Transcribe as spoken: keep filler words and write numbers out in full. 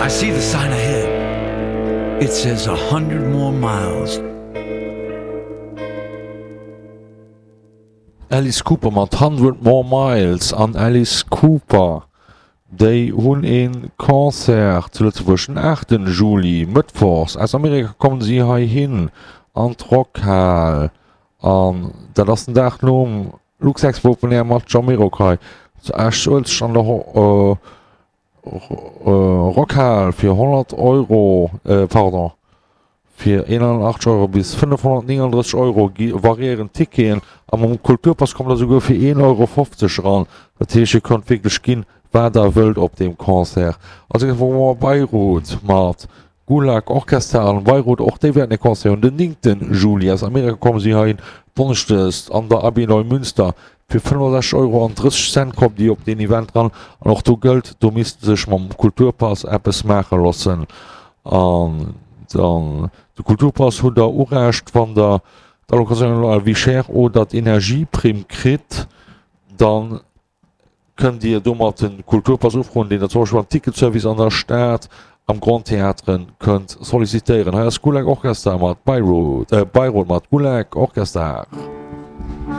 I see the sign ahead. It says a hundred more miles. Alice Cooper mat Hundred More Miles an Alice Cooper, déi hunn ee Concert zu Lëtzebuerg den aachten Juli, mëttwochs. Aus Amerika kommen si heihin an d'Rockhal an dat ass den Dag nom Luxexpo Open Air mat Jamiroquai zu Esch-Uelzecht an der Rockhal fir honnert Euro, pardon, fir eenhunnertachtzeg Euro bis fënnefhonnertnénganddrësseg Euro gi variéieren d'Ticketen a mam Kulturpass kommt der souguer fir een Euro fofzeg eran. Dat heescht, Dir kënnt wierklech ginn, wat der wëllt op deem Concert. Als nächstes hu mer Beirut mat Gulag Orchester an Beirut. Och déi wäerten e Concert hunn den néngten Juli. Aus Amerika komme si heihin donneschdes an der Abbey Neumünster. Fir fënnefensechzeg Euro an drësseg Cent kommt Dir op deen Event ran an och do gëllt, do misst sech mam Kulturpass eppes maache loossen. An dann de Kulturpass hutt der Urecht, wann der d'Allocation à la vie chère oder d'Energieprimm kritt, dann kënnt Dir domat de Kulturpass ufroen, deen der zum Beispill beim Ticketservice an der Stad am Grand Théâtre kënnt sollicitéieren. Hei ass Gulag Orchester mat Beirut, äh Beirut mat Gulag Orchester.